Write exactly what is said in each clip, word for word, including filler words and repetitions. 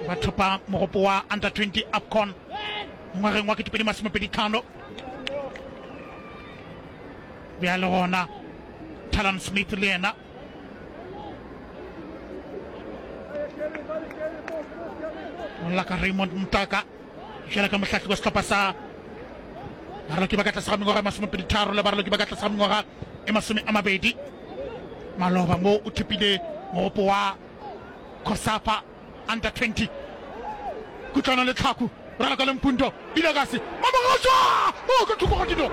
Ba thopa mogopo wa under twenty AFCON ngwageng wa ketepedi masomepedi tlhano. Bjale gona Talon Smith le yena o lla ka Raymond Mtaka bjale ka mohlahli wa sehlopha sa baraloki ba ka tlase ga mengwaga e masomepedi tharo le baraloki ba ka tlase ga mengwaga e masome a mabedi. Maloba mo o thopile mogopo wa COSAFA under twenty. Kutlwano le Tlhaku raloka le Mpunto Vilakazi Mamogošwa o ka thoko ga dino.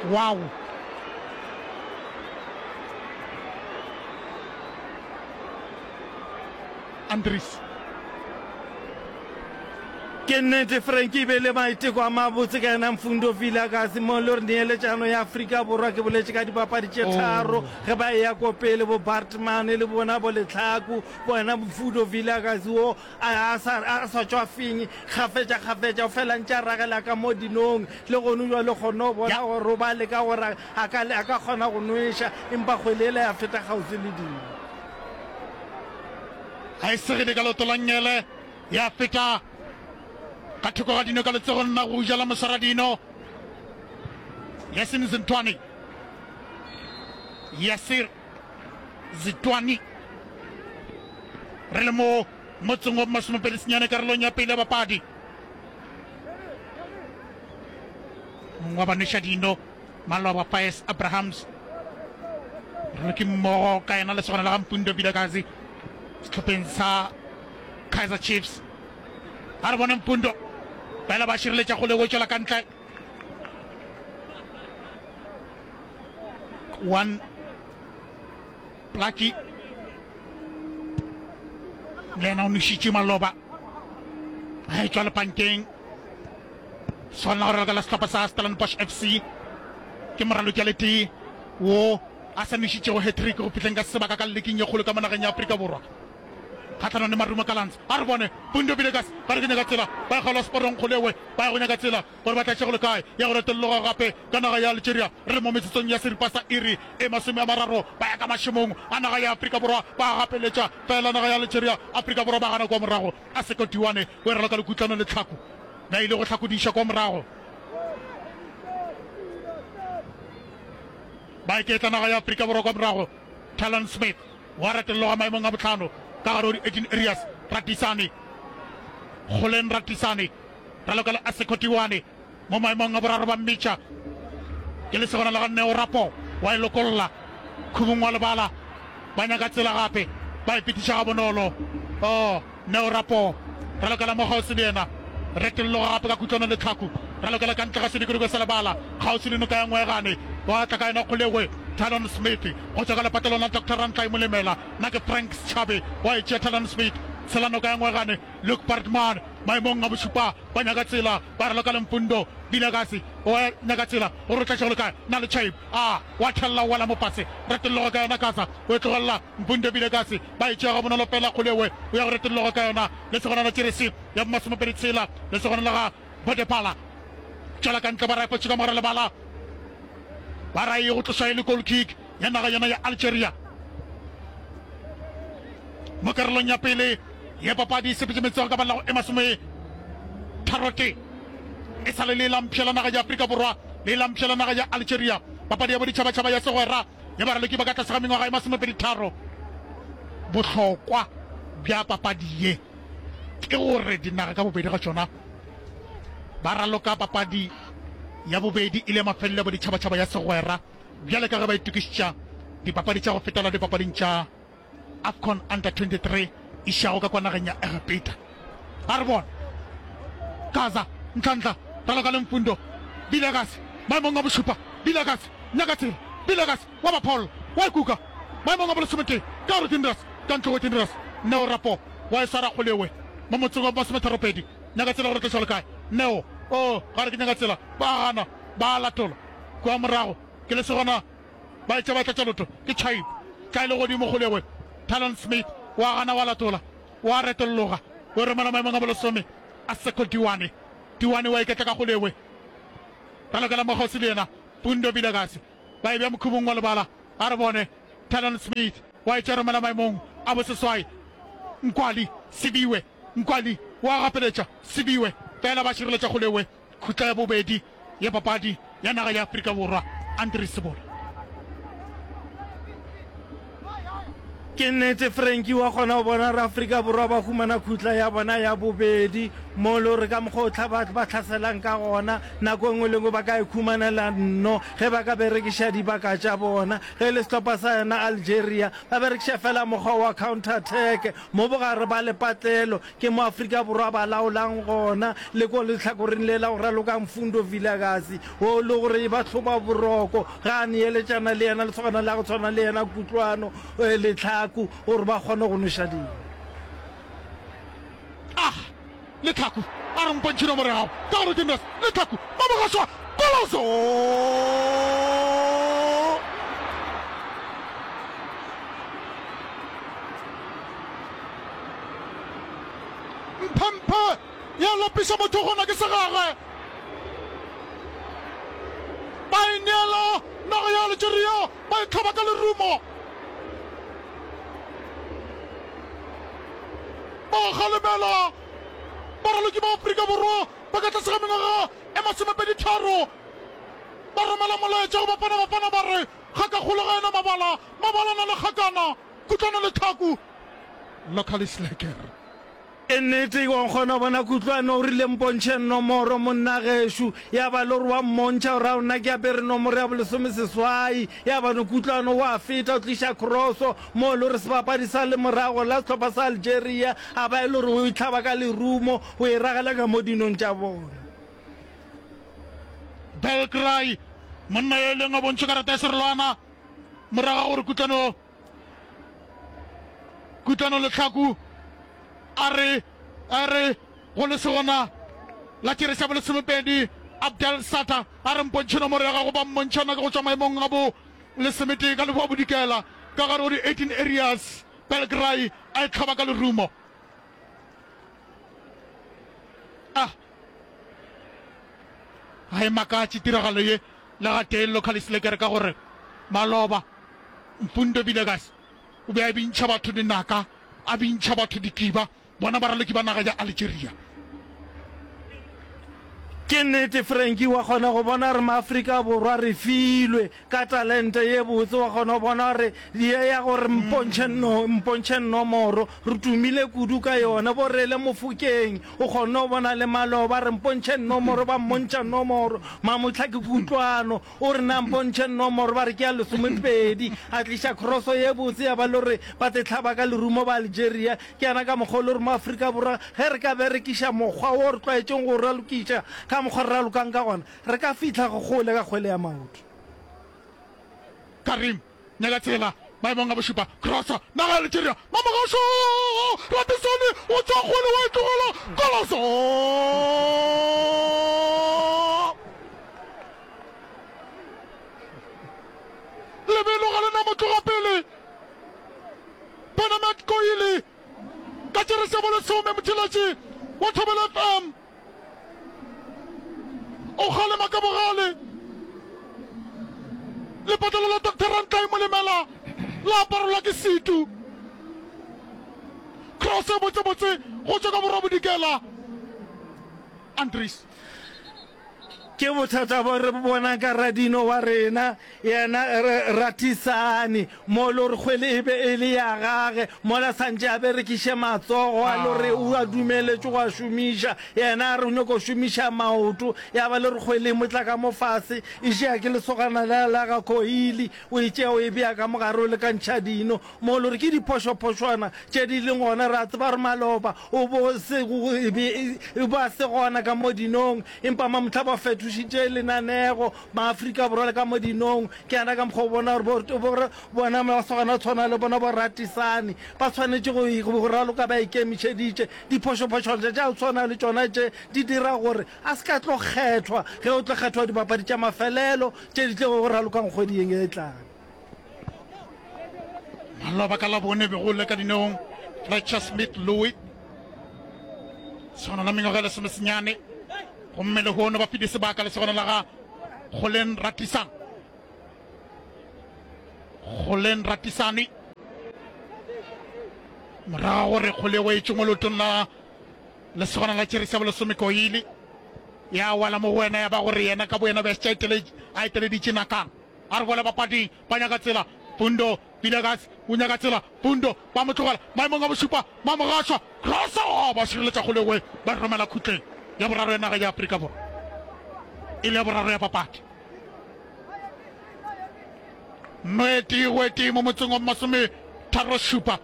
Wow. Andries. Ke nnete, Frank e be le maiteko a mabotse ka yena Mfundo Vilakazi mo le gore neeletšano ya Afrika Borwa ke boletše ka dipapadi tše tharo ge ba eya ko pele bo Baartman le bona bo Letlhaku bona Mfundo Vilakazi wo a a sa a sa tšwafeng kgafetša kgafetša o fela ntše a ragela ka mo dinong le gone jwale kgone go bona gore o ba leka gore a ka a ka kgona go nweša empa kgwele yela ya feta kgauswi le dino. A e segile ka leoto la nngele ya feta ka thoko ga dino ka letsogong la go ja la moswaradino Yasin Zintwani. Yasir Zitwani. Re le mo motseng wa masomepedi senyane karolong ya pele ya papadi. Mongwe wa banweša dino maloba Pius Abrahams re ke mmogo ka yena lesogana la ga Mpundo Vilakazi sehlopheng sa Kaizer Chiefs. A re bone Mpundo fela ba šireletša kgole o tšwela ka ntle. One Plaki le yena o nošitše maloba a e tšwa lepankeng. Swanela go raloka la sehlopha sa Stellenbosch F C ke moraloki a le tee wo a sa nošitšego hat-trick go fihleng ka sebaka ka leking ye kgolo ka mo nageng ya Afrika Borwa kgahlanong le Marumo Gallants. A re bone Pundo Bilekas ba re ke nyaka tsela ba e kgaola seporong kgolewe ba ya go nyaka tsela gore ba tla go le kae ya go retolloga gape ka naga ya Algeria. Re le mo metsotsong ya seripa sa iri e masome a mararo ba ya ka mašemong a naga ya Afrika Borwa ba gapeletša fela naga ya Algeria. Afrika Borwa ba gana kua morago a Sekotiwane o e raloka lekutlano le tlhako ba ile go hlakodiša kwa morago ba iketla naga ya Afrika Borwa kwa morago. Talon Smith wa retolloga maemong a bohlano ka gare go di-eighteen areas. Ratisane Kgoleng Ratisane raloka le Asekotiwane mo maemong a boraro ba mmitša ke lesogana la ga Neo Rapo wa e lokolla khubung wa lebala ba nyaka tsela gape ba e fetiša ga bonolo. Oh, Neo Rapo ralokela mo kgauswi le yena retolloga gape ka kutlwano le tlhaku ralokela ka ntle ga sedikodiko sa lebala kgauswi le noka ya Ngwegane wa tla ka yona kgolegwe Talon Smith go tšwa ka lepatlelong la Doctor Rantlai Molemela na ke Frank Schabe wa e tšea Talon Smith tshela noka ya Ngwegane Luke Bartman maemong a bošupa ba nyaka tsela ba raloka le Mfundo Vilakazi wa nyaka tsela gore o tlatše go le kae na le Chaib a wa thella o wela mo fase retolloga ka yona Gaza o e tlogelela Mfundo Vilakazi ba e tšea gabonolo fela kgolewe o ya go retolloga ka yona lesogana la jeresi ya bomasomepedi tshela lesogana la ga Bodepala tšwela ka ntle ba raefotše ka mogare lebala ba ra e go tloša e le goal kick ya naga yona ya Algeria mo karolong ya pele ya papadi e sepetše metsogo ka ballago e masome tharotee e sa le le lampšhe la naga ya Afrika Borwa le lampšhe la naga ya Algeria papadi ya boditšhabatšhaba ya segwera ya baraloki ba ka tlase ga mengwaga e masomepedi tharo. Bohlokwa bja papadi ye ke gore dinaga ka bobedi ga tšona ba raloka papadi ya bobedi e le ya mafelelo ya boditšhabatšhaba ya segwera bjale ka ge ba itokišetša dipapadi tša go fetela dipapading tša AFCON Under twenty-three išago ka kwa nageng ya Egepeta. A re bone Gaza, Nhlanhla, raloka le Mfundo, Vilakazi, maemong a bošupa, Vilakazi, nyaka tsela, Vilakazi, wa ba Paul, wa ikuka, maemong a bolesometee, ka gore Tindras, ka ntle go Tindras, Neo Rapo, wa e swara kgolewe, mo motseng wa bomasometharopedi, nyaka tsela gore tloša le kae, Neo, oh, ga re ke nyaka tsela, ba gana, ba a latola, kua morago, ke lesogana. Ba etša ba tlatša lotho ke Chaib. Tla e le godimo kgolegwe. Talon Smith wa gana wa latola. Wa retolloga. O romela maemong a bolesome a Seko Diwane. Diwane wa iketla ka kgolegwe. Ralokela mokgosi le yena Pundo Vilakazi. Ba e bea mokhubung wa lebala. A re bone. Talon Smith wa etša romela maemong a boseswai. Nkwali, Sibiwe, Nkwali wa gapeletša, Sibiwe, fela ba šireletša kgolewe. Khutla ya bobedi ya papadi ya naga ya Afrika Borwa, Andries Sebola. Ke nnete, Frankie, wa kgona go bona gore Afrika Borwa ba humana khutla ya bona ya bobedi mo le gore ka mokgwa o tla ba ba hlaselang ka gona, nako e nngwe le nngwe ba ka ikhumanela nno ge ba ka berekiša dibaka tša bona. Ge e le sehlopha sa yona Algeria, ba berekiša fela mokgwa wa counter attack mo bogare ba lepatlelo, Ke mo Afrika Borwa ba laolang gona, le ko lehlakoreng le la go raloka Mfundo Vilakazi, wo le gore e ba hloba boroko ge a neeletšana le yena lesogana la go tshwana le yena Kutlwano Letlhaku gore ba kgone go nweša dino. Ah! Letlhaku a re mpontšhe nomoro ya gago ka gore ke Nurse Letlhaku Mamogaswa Koloso! Mphemphe ya lapiša motho gona ke segage. Ba e neela naga ya Algeria, ba e hlaba ka lerumo. Ba kgalemela baraloki ba Afrika Borwa ba ka tlase ga mengwaga e masomepedi tharo. Ba romela molaetša go Bafana Bafana ba re, Ga ka kgolo ga ena mabala, mabala na le kgakana, kutlwano le tlhaku. Lokalis Lekker. Ke nnete, wa kgona go bona Kutlwano o rile mpontšhe nomoro monna gešo, ya ba le gore wa mmontšha gore ao nna ke apere nomoro ya bolesomeseswai, ya ba no Kutlwano wa feta o tliša crosso mo e le gore sebapadi sa lemorago la sehlopha sa Algeria a ba e le gore o e hlaba ka lerumo o e ragela ka mo dinong tša bona. Belgray, monna yo e leng a bontšhe karata ya serolwana morago ga gore Kutlwano Kutlwano Lehlaku a re a re go lesogana la tšere sa bolesomepedi Abdel Sata a re mpontšhe nomoro ya gago ba mmontšhana ka go tšwa maemong a bo lesometee ka leboa bodikela ka gare go di eighteen areas Belgray a e hlaba ka lerumo a ga e makatše tiragalo ye le gatee Localis Lekere ka gore maloba Mfundo Villegas o be a bintšha batho dinaka, a bintšha batho dikiba, bona baraloki ba naga ya Algeria. Ke nnete Frankie, wa kgona go bona gore maAfrika Borwa re filwe ka talente ye botse, wa kgona go bona gore ye ya gore mpontšhe no, mpontšhe nomoro, re tumile kudu ka yona. Bo Rele Mofokeng, o kgonne go bona le maloba, re mpontšhe nomoro, ba mmontšha nomoro. Mamohla ke Kutlwano, O re, Na mpontšhe nomoro. Ba re, Ke ya lesomepedi. A tliša kroso ye botse ya ba le gore ba te hlaba ka lerumo ba Algeria. Ke yana ka mokgwa o le gore mo Afrika Borwa ge re ka berekiša mokgwa wo re tlwaetšeng go o ralokiša ka mokgwa re ralokang ka gona, re ka fihla kgole ka kgwele ya maoto. Karim Nyaka tsela maemong a bošupa. Kroso naga ya Algeria. Mamogasho Ratisani o tšwa kgole wa e tlogela. Koloso! Lebelo ga le na motloga pele. Benamet Koili ka tšerese ya bolesome motheletši wa Thobela F M. O kgalema ka bogale. Lepatlelo la Doctor Rantlai Molemela la aparelwa ke setu. Cross e botsebotse go tšwa ka borwa-bodikela. Andries. Ke bothata bo re bo bonang ka radino wa rena, yena Ratisani, mo le gore kgwele e be e le ya gage, mola santše a berekiše matsogo a le gore o a dumeletšwe go a šomiša, yena a re o nyoko šomiša maoto, ya ba le gore kgwele e mo tla ka mo fase, e tšea ke lesogana la la ga Koili, o e tšea o e bea ka mo gare o lekantšha dino, mo le gore ke diphošophošwana tše di leng gona, re a tseba gore maloba o bo se e be e ba se gona ka mo dinong, empa mamohla ba fetošitše lenanego, Maafrika Borwa le ka mo dinong, ke yana ka mokgwa o bona gore bo, bo, bona masogana a tshwana le bona bo Ratisani ba swanetše go, go raloka ba ikemišeditše. Diphošophošwana tša go tshwana le tšona tše di dira gore a se ka tlo kgethwa ge go tlo kgethwa dibapadi tša mafelelo tše di tlogo go ralokang kgweding e tlang. Maloba ka Labone be go le ka dineong Fletcher Smith Louis lesogana la mengwaga e lesomesenyane gomme lehono ba file sebaka lesogana la ga Golen Ratisang Golen Ratisane. Morago gore kgolego e tšwe mo leotong la lesogana la tšerisi ya bolesome Koili, ya wela mo go wena ya ba gore yena ka boyena be a šetše a eteleditše nakana. A re boele bapading, ba nyaka tsela. Fundo Villegas o nyaka tsela. Fundo ba mo tlogela maemong a bošupa, Mamogašwa Rosa ba šireletša kgolego ba e romela khutleng ya boraro ya naga ya Afrika Borwa, e le ya boraro ya papadi. Nno e tee go e tee mo motseng wa masome tharo šupa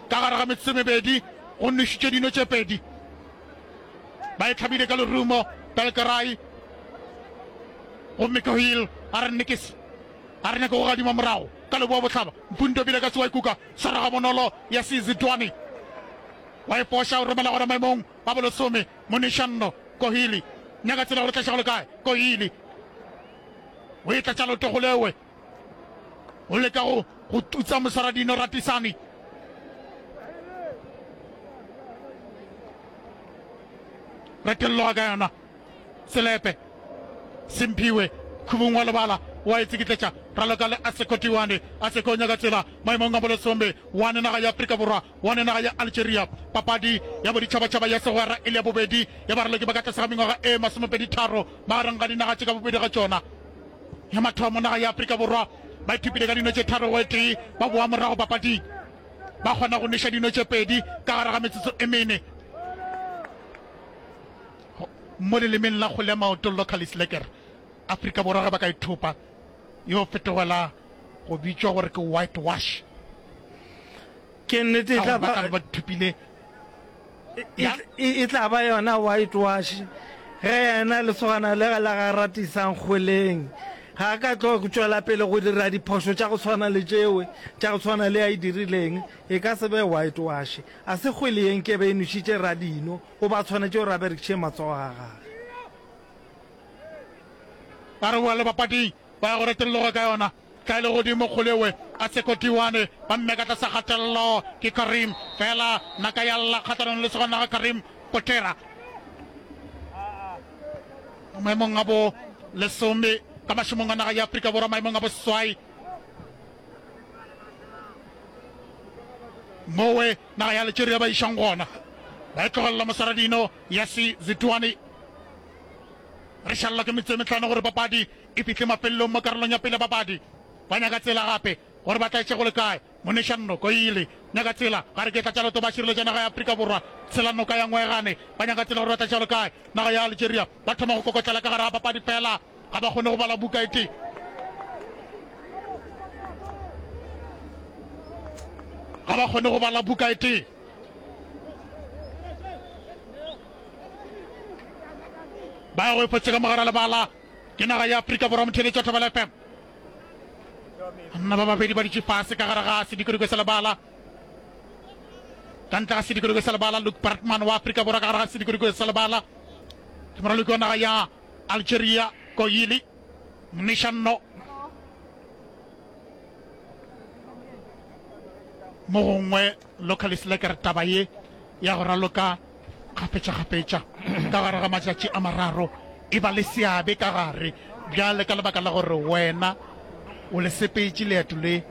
ka gare ga metsotso e mebedi go nwešitšwe dino tše pedi. Ba e hlabile ka lerumo Belgaray gomme Kohil a re nikis a re nyake go gadima morago ka leboa bohlaba. Mfundo bile ka se wa ikuka swara ga bonolo ya Sizidwane wa e foša o romela gona maemong a bolesome. Monišanno Kohili nyaka tsela gore tlaša go le kae. Kohili o e tlatša leoto go lewe o leka go go tutsa moswaradino Ratisani. Retelloga ka yona Selepe Simphiwe khubung wa lebala wa e tsikitletša raloka le Aseko Tiwane. Aseko o nyaka tsela maemong a bolesome one naga ya Afrika Borwa one naga ya Algeria. Papadi ya boditšhabatšhaba ya segwera e le ya bobedi ya baraloki ba ka tlase ga mengwaga e masomepedi tharo magareng ga dinaga tše ka bobedi ga tšona. Ya mathomo naga ya Afrika Borwa ba ithupile ka dino tše tharo go e tee, ba boa morago papading ba kgona go nweša dino tše pedi ka gare ga metsotso e mene. Mo lelemeng la kgole ya maoto Localis Lekker, Afrika Borwa ge ba ka ithopa yo fetogela go bitšwa gore ke white wash. Ke nnete e Ka tla gore ba ba tla be ba thopile e, ya e, e tla ba yona white wash ge yena lesogana le la ga Ratisang kgweleng ga a ka tlo tšwela pele go dira diphošo tša go tshwana le tšewe tša go tshwana le a e dirileng, e ka se be white wash. A se kgwele ye nkebe e nwešitše Radino, o ba tshwanetše gore a berekiše matsogo a gage. Ba re boa le bapading ba ya go retolloga ka yona. Tla e le godimo kgolewe a Sekotiwane ba mme ka tlasa kgatelelo ke Karim fela naka ya lla kgahlanong le segwana ga Karim Kotera mo maemong a bo lesome ka mašomong a naga ya Afrika Borwa maemong a boseswai mowe naga ya Algeria ba išang gona ba e tlogelela moswaradino Yasi Zituane. Re šalelwa ke metsotso e mehlano gore papadi e fihle mafelelong mo karolong ya pele ya papadi. Ba nyaka tsela gape gore ba tla etše go le kae. Monišanno Koili nyaka tsela gare ke tlatša leoto ba šireletša naga ya Afrika Borwa. Tshela noka ya Ngwegane ba nyaka tsela gore ba tla etša go le kae. Naga ya Algeria ba thoma go kokotlela ka gare ga papadi fela ga ba kgone go bala buka e tee. Ga ba kgone go bala buka e tee. Ba ya go efotse ka mogara lebala ke naga ya Afrika Borwa motheletši wa Thobela F M. Banna ba babedi ba dutše fase ka gare ga sedikodiko sa lebala. Ka ntle ga sedikodiko sa lebala Luke Bartman wa Afrika Borwa ka gare ga sedikodiko sa lebala. Ke moraloki wa naga ya Algeria Koyili Mnishanno. Mo gongwe Localis Lekker taba ye ya go raloka kgafetšakgafetša ka gare ga matšatši a mararo e ba le seabe ka gare bjale ka lebaka la gore wena o le sepetše leeto le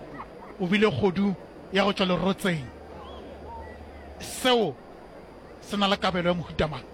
o bile kgodu ya go tšwa lerotseng. Seo se na le kabelo ya mohuta mang?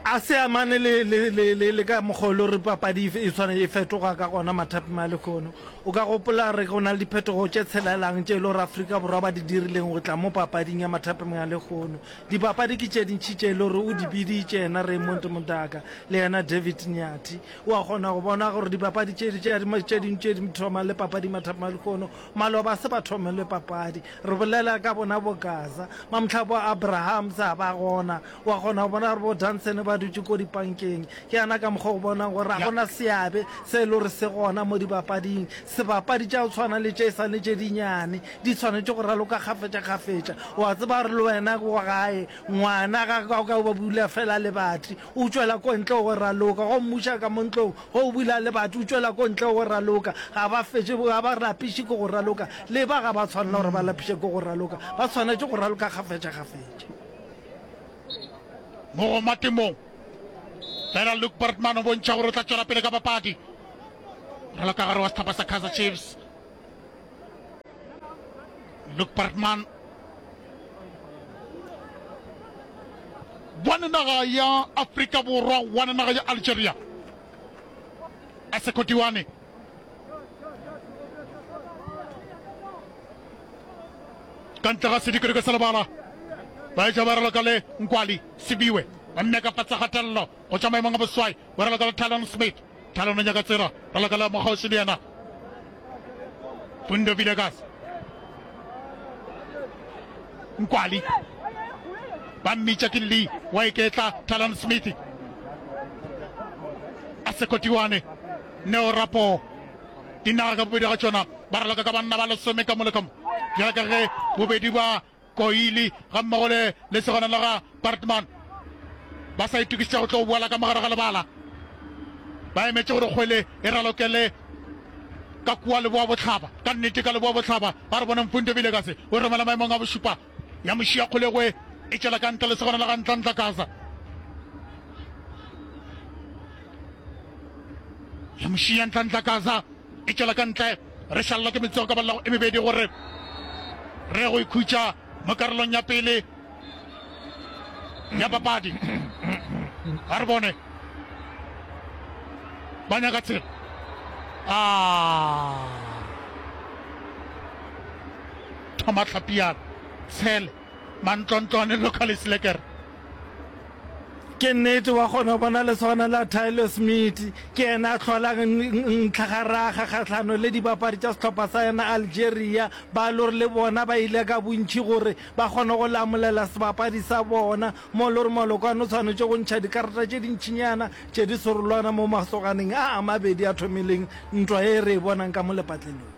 A se amane le, le, le, le, le ka mokgwa o le gore papadi e tshwane e fetoga ka gona mathapeng a lehono. O ka gopola re go na le diphetogo tše tshelelang tše e le gore Afrika Borwa ba di dirileng go tla mo papading ya mathapeng a lehono. Dipapadi ke tše dintši tše e le gore o di biditše yena Raymond Mdaka le yena David Nyathi. O a kgona go bona gore dipapadi tše, tše, tše dingwe tše di thoma le papadi mathapeng a lehono, maloba se ba thome le papadi. Re bolela ka bona bo Gaza, mamhla bo Abrahams a ba gona. Wa kgona go bona gore bo Danson ba dutše ko dipankeng. Ke yana ka mokgwa o bonang gore ga gona seabe se e le gore se gona mo dibapading. Sebapadi tša go tshwana le tše e sa le tše dinnyane di tshwanetše go raloka kgafetšakgafetša. Wa tseba gore le wena ko gae ngwana ga o ka ba bula fela lebati o tšwela ko ntle go raloka, go mmuša ka mo ntlong ge o bula lebati o tšwela ko ntle go raloka. Ga ba fetše, ga ba lapiše ke go raloka. Le ba ga ba tshwanela gore ba lapiše ke go raloka, ba tshwanetše go raloka kgafetšakgafetša. Mo go matemong fela Luke Bertman o bontšha gore o tla tšwela pele ka papadi. Raloka gare wa sehlopha sa Kaizer Chiefs. Luke Bartman one naga ya Afrika Borwa one naga ya Algeria a Sekotiwane ka ntle ga sedikadika sa lebala ba etša ba raloka le Nkwali Sibiwe ba mmeka fatsa kgatelelo go tšwa maemong a boswai ba raloka le Talon Smith Talon o nyaka tsela raloka le Mokgosi le yena Fundo Villegas Nkwali ba mmitša ke Lee wa iketla Talon Smith a Sekotiwane Neo Rapo dinaga ka bobedi ga tšona ba raloka ka banna ba lesome ka mo le ka mo bjalo ka ge bobedi ba Koili ga mmogo le lesogana la ga Bartman ba sa itokišetša go tlo boela ka mogare ga lebala ba emetše gore kgwele e ralokele ka kua leboa bohlaba ka nnete ka leboa bohlaba ba re bone Mfundo Vilekase o romela maemong a bošupa ya mošia kgolegwe e tšwela ka ntle lesogana la ga Ntlantla Kaza ya mošia Ntlantla Kaza e tšwela ka ntle re šalelwa ke metsogo ka balelago e mebedi gore re go ikhutša mo karolong ya pele ya papadi a re bone ba nyaka tsela a thoma tlhapiana tshele mantlontlwane local slekere Ke nnete, wa kgona go bona lesogana la Tyler Smith, ke yena a hlolang ntlhagaraga kgahlano le dibapadi tša sehlopha sa yena Algeria, ba le gore le bona ba ile ka bontši gore ba kgone go lamolela sebapadi sa bona, mo le gore Malokwane o swanetše go ntšha dikarata tše dintšinyana tše di serolwana mo masoganeng a a mabedi a thomileng ntwa ye re e bonang ka mo lepatlelong.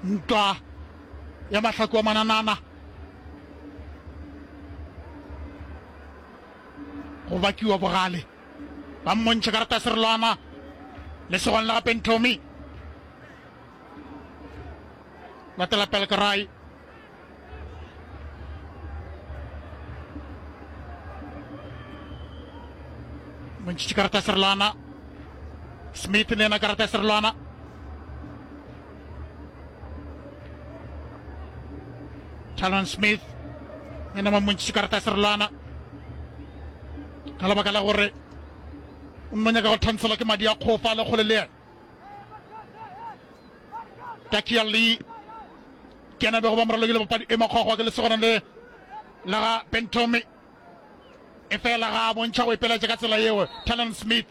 Ntwa ya mahlaku a mananana go bakiwa bogale ba mmontšha karata ya serolwana lesogong la gape Nthomi latela Pelkerai montšhitše karata ya serolwana Smith le yena karata ya serolwana Talon Smith yena ba mmontšhitše karata ya serolwana ka lebaka la gore o nno nyaka go thantshelwa ke madi a kgofa le kgole le yena Takia Lee ke yena bego ba moralokile papadi e makgwakgwa ke lesogana le la ga Bentomi e fela ga a bontšha go ipeletša ka tsela yeo Talon Smith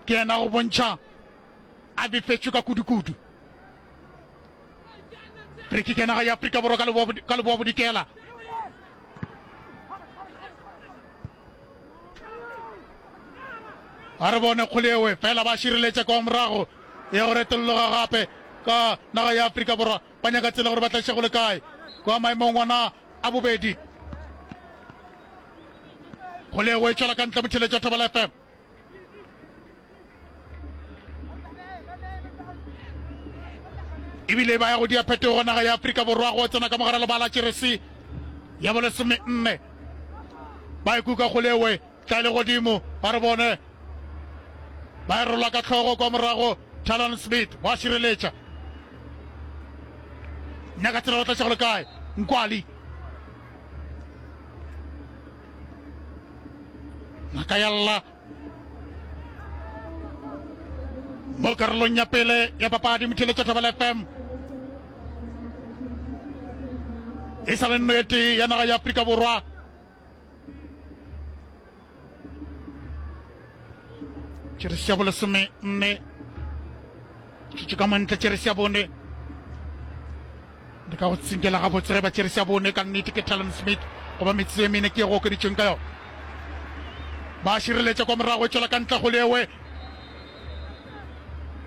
ke yena go bontšha a befetšwe ka kudu-kudu free kick ya naga ya Afrika Borwa ka leboa bodikela a re bone kgole ewe fela ba šireletša kwa morago ya go retolloga gape ka naga ya Afrika Borwa ba nyaka tsela gore ba tla go le kae kwa maemong ona a bobedi kgole ewe e tšwela ka ntle motheletša Thobela F M ebile ba ya go dia phetogo naga ya Afrika Borwa go tsena ka mogare lebala jeresi ya bolesome nne ba ikuka kgolewe tla le godimo ba re bone ba e rola ka tlhogo kwa morago Talon Smith wa šireletša nyaka tsela go tlatša go le kae Nkwali ngaka ya lla mo karolong ya pele ya papadi motheletša Thobela F M e sa le nno e tee ya naga ya Afrika Borwa tšeresi ya bolesome nne tšutše ka montle tšeresi ya bone le ka go tsinkela gabotse ge ba tšeresi ya bone ka nnete ke Talon Smith goba metsotso e mene ke e go okeditšweng ka yona ba šireletša kwa morago e tšwela ka ntle go lewe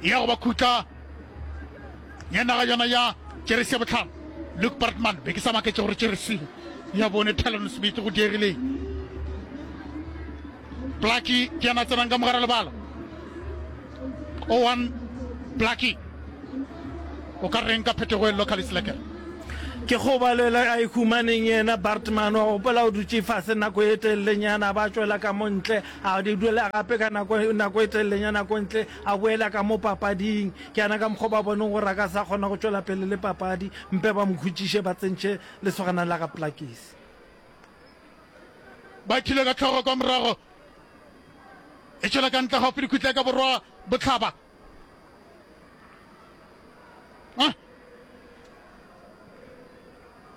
ya go ba khutla ya naga yona ya jeresi ya botlhano Luke Bartman be ke sa maketše gore jeresi ya bone Talon Smith go diegileng Blackie ke yena tsenang ka mogare lebala Owen Blackie o ka reng ka phetogo e local Slacker Ke kgobalo a e humaneng yena Bartman, wa gopola o dutše fase nako e telelenyana, a ba tšwela ka mo ntle, a di duela gape ka nako nako e telelenyana ko ntle, a boela ka mo papading. Ke yana ka mokgwa ba boneng gore a ka sa kgona go tšwela pele le papadi, mpe ba mo khutšiše ba tsentšhe lesogana la ga Plakisi. Ba ithile ka hlogo kwa morago, e tšwela ka ntle gaufi le khutla ya ka borwa bohlaba. Ah.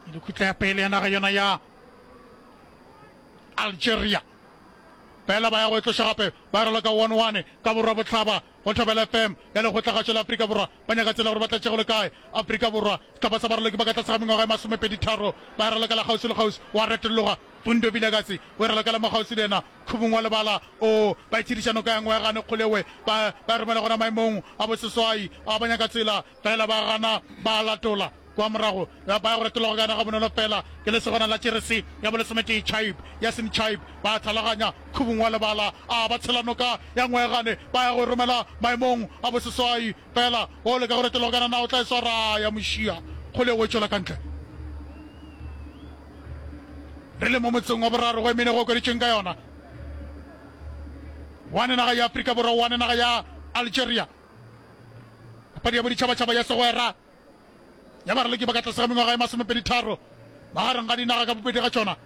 E le khutla ya pele ya naga yona ya Algeria. Fela ba ya go e tloša gape, ba raloka one one ka borwa bohlaba go Thobela F M ya Lekgotlagašo la Afrika Borwa. Ba nyaka tsela gore ba tlatše go le kae. Afrika Borwa, sehlopha sa baraloki ba ka tlase ga mengwaga e masomepedi tharo, ba e ralokela kgauswi le kgauswi, wa retologa. Fundo Vilakazi o e ralokela mo kgauswi le yena, khubung wa lebala. O, ba itshediša noka ya Ngwegane kgolewe, ba, ba e romela gona maemong a boseswai. A ba nyaka tsela, fela ba gana, ba latola. Kua morago, ba ya go retologa ka yona gabonolo fela. Ke lesogana la tšerese ya bolesometee Chaib, Yasin Chaib, ba thalaganya khubung wa lebala. A ba tshela noka ya Ngwegane, ba ya go e romela maemong a boseswai. Fela o leka go retologa ka yona, na o tla e swara? Ya mo šia kgole, o e tšwela ka ntle. Re le mo motseng wa boraro go e mene go okeditšweng ka yona. One naga ya Afrika Borwa, one naga ya Algeria. Papadi ya boditšhabatšhaba ya segwera ya baraloki ba ka tlase ga mengwaga e masomepedi tharo magareng ga dinaga ka bobedi ga tšona.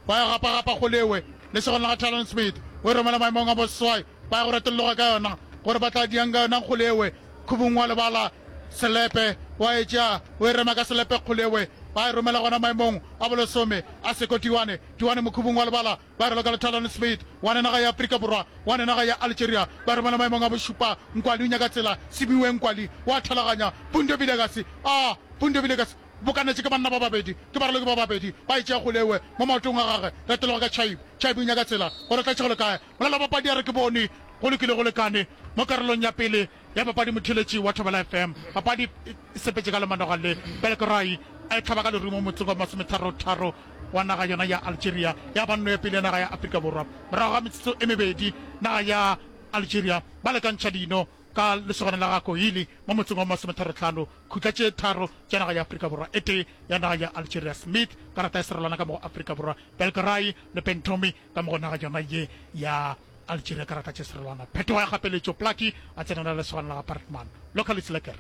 Ba ya gapa-gapa kgolewe lesogong la ga Talon Smith, o e romela maemong a boseswai. Ba ya go retolloga ka yona gore ba tla diang ka yona kgolewe khubung wa lebala. Selepe wa e tšea, o e rema ka selepe kgolewe. Ba e romela gona maemong a bolesome a Seko Tiwane. Tiwane mokhubung wa lebala. Ba raloka le Talon Smith wa naga ya Afrika Borwa, wa naga ya Algeria. Ba romela maemong a bošupa. Nkwali o nyaka tsela. Sibiwe Nkwali wa thalaganya. Pundo Vilakazi, a Pundo Vilakazi bokanetše ke banna ba babedi, ke baraloki ba babedi. Ba e tšea kgolewe mo maotong a gagwe. Retologa ka Chaib. Chaib o nyaka tsela gore tlatše go le kae. Molala wa papadi a re ke bone go lokile go lekane mo karolong ya pele ya papadi. Motheeletši wa Thobela F M, papadi e sepetše ka lemanoga le Belkerai a e hlaba ka lerumo motseng wa masometharo-tharo wa naga yona ya Algeria, ya ba nno ya pele ya naga ya Afrika Borwa. Morago ga metsotso e mebedi, naga ya Algeria ba lekantšha dino ka lesogana la ga Koili mo motseng wa masometharo-hlano, khutla tše tharo tša naga ya Afrika Borwa, e tee ya naga ya Algeria. Smith karata ya serolwana ka mo go Afrika Borwa, Belkerai le Bentomi ka mo go naga yona ye ya Algeria karata tše serolwana. Phetogo ya kgapeletšo, Plaki a tsenela lesogana la ga Bartman. Local is lekker.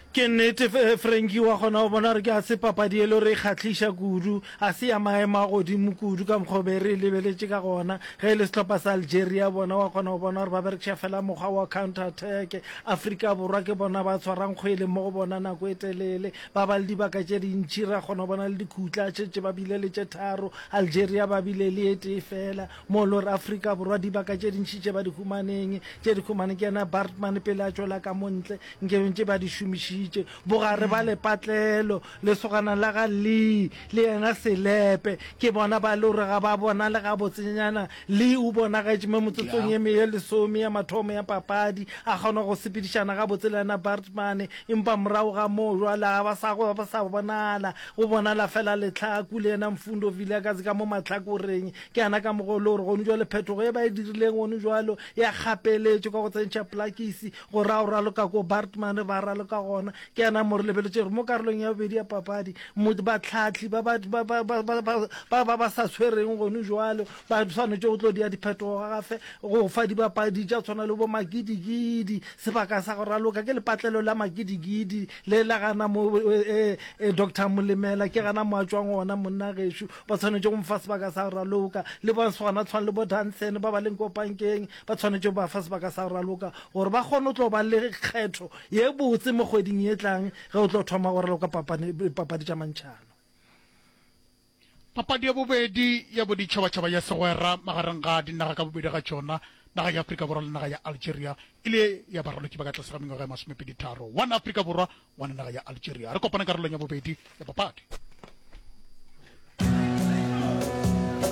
Ke nnete, Frankie, wa kgona go bona gore ke a se papadi e le gore e kgahliša kudu, a se ya maemo a godimo kudu ka mokgwa o be re e lebeletše ka gona. Ge e le sehlopha sa Algeria bona wa kgona go bona gore ba berekiša fela mokgwa wa counter attack. Afrika Borwa ke bona ba tshwarang kgwele mo go bona nako e telele, ba ba le dibaka tše dintši, ra kgona go bona le dikhutla šetše ba bile le tše tharo, Algeria ba bile le e tee fela. Mo e le gore Afrika Borwa dibaka tše dintši tše ba di humaneng, tše di humane ke yena Baartman pele a tšwela ka mo ntle, nke ntše ba di šomišitše. Bogare ba lepatlelo, lesogana la ga Lee le yena Selepe, ke bona ba e le gore ga ba bonale gabotsenyana. Lee o bonagetše mo metsotsong ye ye lesome ya mathomo ya papadi, a kgona go sepedišana gabotse le yena Baartman, empa morago ga moo jwale ga ba sa, ga ba sa bonala. Go bonala fela Letlhaku le yena Mfundo Vilakazi ka mo mahlakoreng. Ke yana ka mokgwa o le gore gone jwale phetogo ye ba e dirileng gone jwalo ya kgapeletšo ka go tsentšha plakisi go ra go raloka ko Baartman ba raloka gona. Ke yana mo re lebeletše gore mo karolong ya bobedi ya papadi mo bahlahli ba ba ba ba ba ba ba ba ba ba sa tshwereng gone jwalo ba swanetše go tlo dia diphetogo gafe go fa dibapadi tša tshwana le bo Magidigidi sebaka sa go raloka. Ke lepatlelo la Magidigidi le la gana mo e, e, Doctor Molemela ke gana mo a tšwang gona monna gešo. Ba tshwanetše go mo fa sebaka sa go raloka. Le ba swana tshwana le bo Danson ba ba leng ko pankeng, ba tshwanetše go ba fa sebaka sa go raloka gore ba kgone go tlo ba le kgetho ye botse mo kgweding ye tlang ge o tlo thoma go raloka papane, papadi tša mantšhano. Papadi ya bobedi ya boditšhabatšhaba ya segwera magareng ga dinaga ka bobedi ga tšona, naga ya Afrika Borwa le naga ya Algeria, e le ya baraloki ba ka tlase ga mengwaga e masomepedi tharo. One Afrika Borwa, one naga ya Algeria. Re kopane karolong ya bobedi ya papadi.